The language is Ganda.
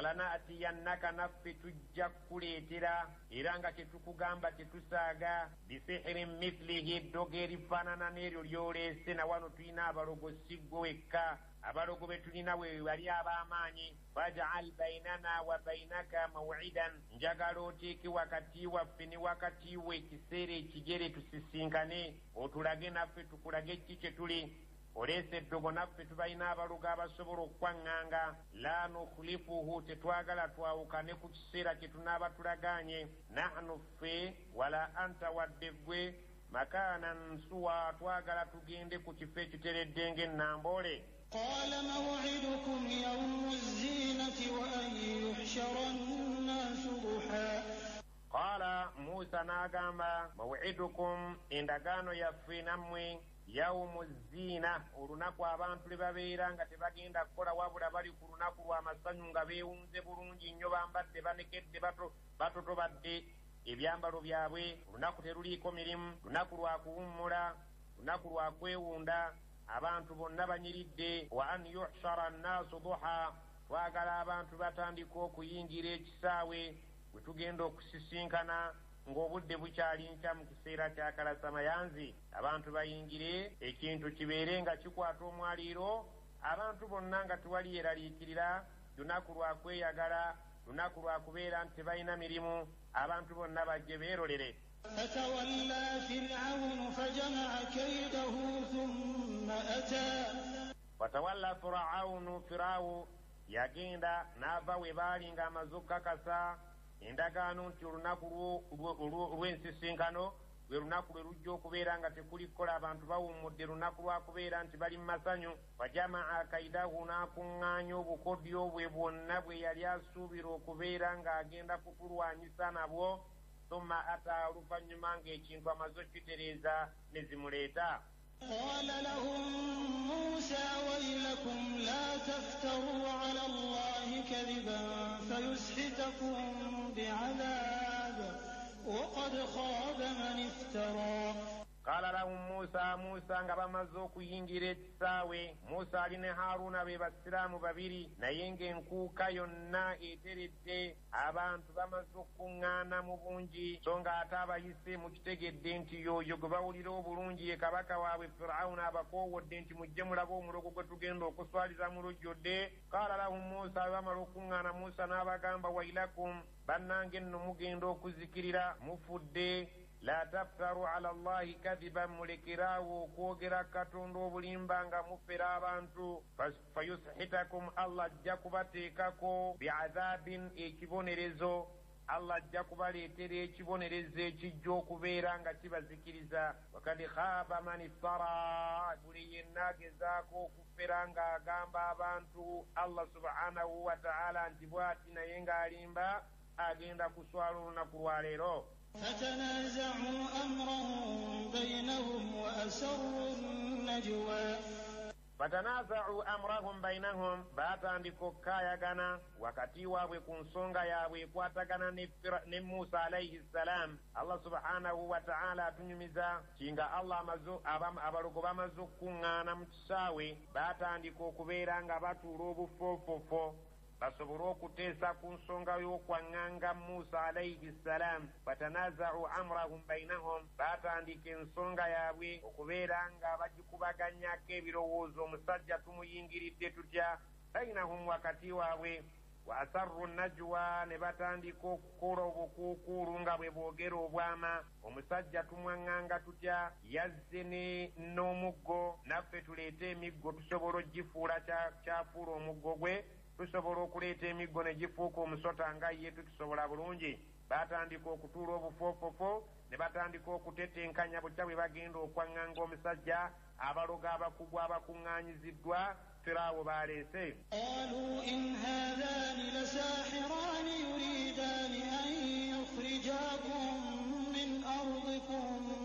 Falanatiyannaka, naffe tujja kukuleetera, era nga kyetukugamba tetusaaga, bisihirin mithilihi, eddogo erifaanana n'eryo ly'oleese. Na wano tulina abalogo, si ggwe wekka, abalogo be tulina we bali ab'amaanyi. Faj'al bainana wa bainaka maw'idan, njagala oteeke wakati waffe ne wakati we ekiseera ekigere tusisinkane, otulage naffe tukulage ki kye tuli. Oleese eddogo, naffe tubalina abalogo abasobola okukwaŋŋanga. La nukhlifuhu, tetwagala twawukane ku kiseera kye tunaaba tulagaanye. Nahnu ffe, wala anta, wadde ggwe, makaanan suwa, twagala tugende ku kifo ekiteredde ng'ennamboole. قال موعدكم يوم الزينة وأن يحشر الناس ضحى. Qaala Musa n'agamba, mawidukum, endagaano yaffe nammwe, yawumu ziina, olunaku abantu lwe babeera nga tebagenda kukola wabula bali ku lunaku lw'amasanyu nga beewunze bulungi nnyo, bambadde banekedde, batotobadde ebyambalo byabwe. Olunaku teruliiko mirimu, lunaku lwa kuwummula, lunaku lwa kwewunda, abantu bonna banyiridde. Wa an yuhshara nnaasu duha, twagala abantu batandika okuyingira ekisaawe we tugenda okusisinkana ng'obudde bukyali nkya mu kiseera kya kalasamayanzi. Abantu bayingire, ekintu kibeere nga kikwata omwaliiro, abantu bonna nga tewali yeraliikirira. Lunaku lwa kweyagala, lunaku lwa kubeera nti tebalina mirimu, abantu bonna bajje beerolere. Fatawalla Fir'aunu fajama'a kaydahu thumma ata. Fatawalla Fir'aunu, Firawo yagenda n'ava we baali ng'amaze okukakasa endagaano nti olunaku lw'ensisinkano lwe lunaku lwe lujja okubeera nga tekuli kukola, abantu bawummudde, lunaku lwa kubeera nti bali mu masanyu. Fajamaa kaidahu, n'akuŋŋaanya obukodyo bwe bwonna bwe yali asuubira okubeera ng'agenda kutulwanyisa nabwo. Thumma ata, oluvannyuma ng'ekintu amaze okukitereeza ne zimuleeta. قال لهم موسى ويلكم لا تفتروا على الله كذبا فيسحتكم بعذاب وقد خاب من افترى. Qala lahum Musa, Musa nga bamaze okuyingira ekisaawe, Musa ali ne Haruna be basiraamu babiri, naye ng'enkuuka yonna eteredde, abantu bamaze okuŋŋaana mu bungi, so ng'ate abayise mukitegedde nti y'oyo gwe bawulira obulungi ye kabaka waabwe Firawuna abakoowodde nti mujje mulabe omulogo gwe tugenda okuswaliza mu lujjudde. Qala lahum Musa, bwe bamala okuŋŋaana Musa n'abagamba, wailakum, bannange nno mugenda okuzikirira, mufudde. La taftaru ala Allahi kadhiban, mulekeraawo okwogera Katonda obulimba nga mufera abantu. Fayushitakum, Allah ajja kubateekako biadhabin, ekibonerezo. Allah ajja kubaleetera ekibonerezo ekijja okubeera nga kibazikiriza. Wakad khaba man iftara, buli yenna agezaako okufera ng'agamba abantu Allah subhanahu wa ta'ala nti bw'ati, naye ng'alimba, agenda kuswala olunaku lwa leero. فتنازعوا أمرهم بينهم وأسروا النجوى. Fatanaza'u amrahum bainahum, baatandika okukkaayagana wakati waabwe ku nsonga yaabwe ekwatagana ne Musa alayhi ssalam. Allah subhanahu wa ta'ala atunyumiza kinga Allah abalogo bamaze okukuŋŋaana mu kisaawe, baatandika okubeera nga batuula obufoofofo basobole okuteesa ku nsonga y'okwaŋŋanga Musa alayhi ssalam. Fatanaza'u amrahum bainahum, baatandika ensonga yaabwe okubeera nga bagikubaganyako ebirowoozo, omusajja tumuyingiridde tutya, bainahum, wakati waabwe. Wa asarru najwa, ne batandika okukola obukuukuulu nga bwe boogera obwama, omusajja tumwaŋŋanga tutya, yazze n'omuggo, naffe tuleete emiggo tusobola ogifuula kyafuula omuggo gwe, tusobola okuleeta emiggo ne gifuuka omusota nga ye tukisobola bulungi. Baatandika okutuula obufoofofo ne batandika okutetenkanya butya bwe bagenda okwaŋŋanga omusajja. Abalogo abakugu abakuŋŋaanyiziddwa Firawo baleese. Qaalu in haadhaani lasaahiraani.